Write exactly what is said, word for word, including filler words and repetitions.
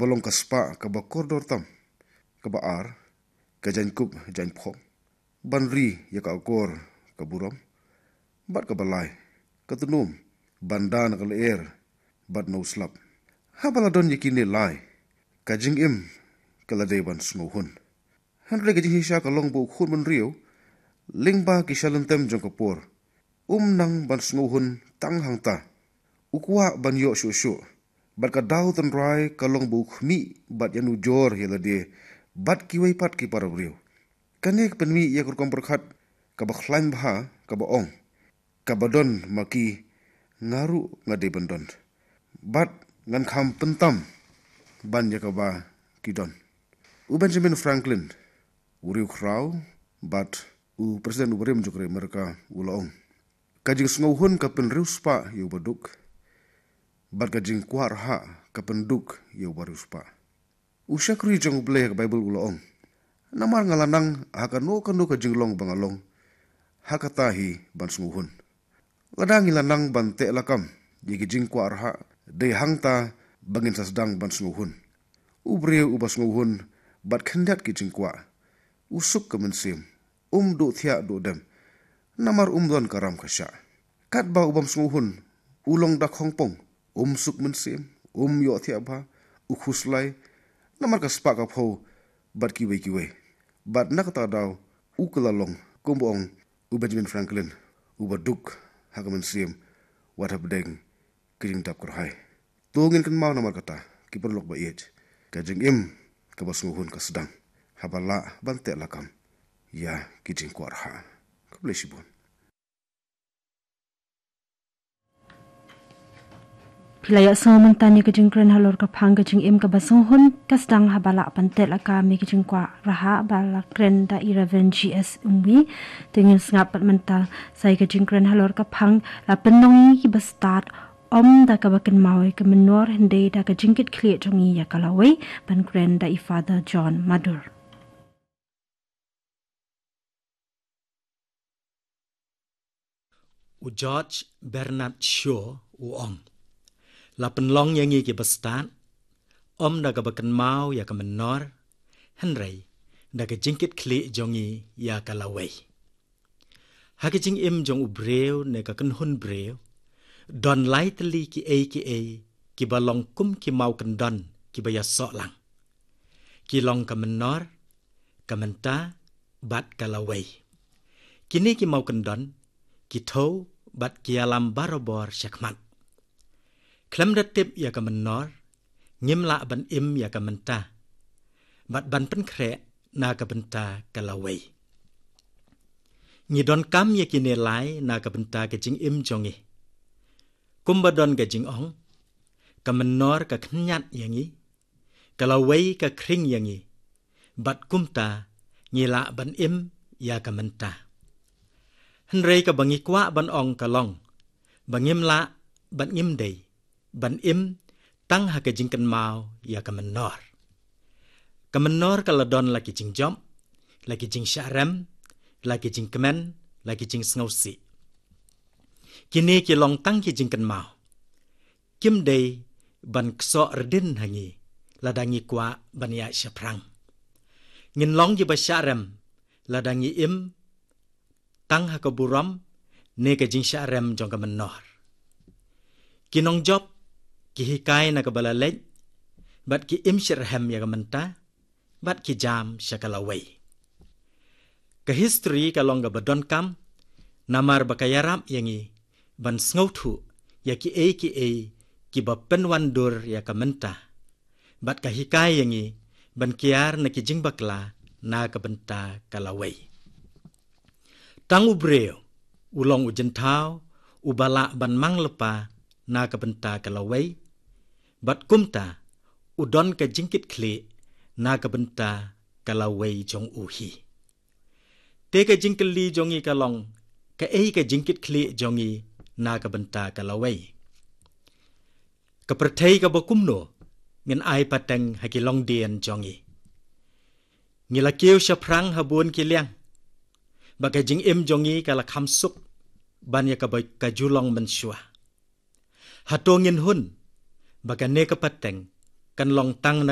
ka long ka spah kaba kordor tam. Kaba ar, ka jaiñkup jaiñphong, ban ri ïa ka akor ka burom, bad kaba lai, ka tnum, ban da na ka lyer bad na u slap. Haba la don ïa kine lai, ka jingim ka la dei ban sngewhun. Hynrei ka jingshisha ka long ba u khun bynriew, lyngba ki shalynter jong ka por, um nang ban sngewhun tang hangta. U kwah ban ïoh shuh shuh. Bad ka daw tynrai ka long ba u khmih bad ïanujor ïa lade bad kiwei pat ki para briew. Kane ka pynmih ïa ka rukom pyrkhat kaba khlaiñ bha, kaba ong: Kaba don ma ki, nga ruh nga dei ban don, bad ngan kham pyntam ban ïa kaba ki don. U Benjamin Franklin, u riewkhraw bad u President uba rim jong ka ri Amerika, u la ong: Ka jingsngewhun ka pynriewspah ïa uba duk, bad ka jingkwah rhah ka pynduk ïa uba riewspah. U shakri jong U Blei ha ka Baibl u la ong: Namar nga la nang ha kano kano ka jinglong ba nga long, ha kata hi ban sngewhun. Lada ngi la nang ban teh lakam ïa ki jingkwah rhah, dei hangta ba ngin sa sdang ban sngewhun. U briew uba sngewhun bad khyndiat ki jingkwah, u suk ka mynsiem, um duh thiah duh dem, namar um don ka ram ka shah. Katba u bym sngewhun, u long da khongpong, um suk mynsiem, um ïoh thiah bha, u khuslai, namar ka spah ka phew bad kiwei kiwei. Bad na kata ka daw, u kylla long, kumba ong u Benjamin Franklin, uba duk ha ka mynsiem, wat hapdeng ka jingdap kyrhai. To ngin kynmaw namar kata, ki paralok ba ïeit, ka jingim kaba sngewhun ka sdang haba lah ban teh lakam ïa ki jingkwah rhah. Khublei shibun. Phi la ïohsngew mynta ïa ka jingkren halor ka phang ka jingim kaba sngewhun ka sdang haba lah ban teh lakam ïa ki jingkwah rhah, ba la kren da i Reverend G S Umwi. Te ngin sngap pat mynta sa ïa ka jingkren halor ka phang la pynlong ïa ki bastad, ym da kaba kynmaw ïa ka mynnor, hynrei da ka jingkitkhlieh jong ngi ïa ka lawei, ban kren da i Father John Madur. U George Bernard Shaw u ong: La pynlong ïa ngi ki bastad, ym da kaba kynmaw ïa ka mynnor, hynrei da ka jingkitkhlieh jong ngi ïa ka lawei. Ha ka jingim jong u briew ne ka kynhun briew, don lai tylli kiei kiei kiba long kum ki maw kyndon kiba ïasoh lang. Ki long ka mynnor, ka mynta, bad ka lawei. Kine ki maw kyndon ki thew bad ki ïalam barabor shakhmat. Khlem da tip ïa ka mynnor, ngim lah ban im ïa ka mynta, bad ban pynkhreh na ka bynta ka lawei. Ngi donkam ïa kine lai na ka bynta ka jingim jong ngi. Kumba don ka jingong: Ka mynnor ka khynñiat ïa ngi, ka lawei ka khring ïa ngi, bad kumta ngi lah ban im ïa ka mynta. Hynrei kaba ngi kwah ban ong ka long ba ngim lah bad ngim dei ban im tang ha ka jingkynmaw ïa ka mynnor. Ka mynnor ka la don la ki jingjop, la ki jingshah rem, la ki jingkmen, la ki jingsngewsih. Kine ki long tang ki jingkynmaw. Kim dei ban ksoh rdin ha ngi lada ngi kwah ban ïaid shaphrang. Ngin long kiba shah rem lada ngi im tang ha ka burom ne ka jingshah rem jong ka mynnor. Ki nongjop ki hikai na kaba la leit, bad ki im shitrhem ïa ka mynta, bad ki jam sha ka lawei. Ka history ka long kaba donkam, namar ba ka ïarap ïa ngi ban sngewthuh ïa kiei kiei kiba pynwandur ïa ka mynta, bad ka hikai ïa ngi ban kiar na ki jingbakla na ka bynta ka lawei. Tang u briew u long u jynthaw uba lah ban mang lypa na ka bynta ka lawei, bad kumta u don ka jingkitkhlieh na ka bynta ka lawei jong u hi. Te ka jingkylli jong ngi ka long, kaei ka jingkitkhlieh jong ngi na ka bynta ka lawei? Ka pyrthei kaba kumno ngin ai pateng ha ki longdien jong ngi? Ngi la kiew shaphrang ha bun ki liang, ba ka jingim jong ngi ka la kham suk ban ïa kaba ka ju long mynshuwa. Hato ngin hun ba kane ka pateng kan long tang na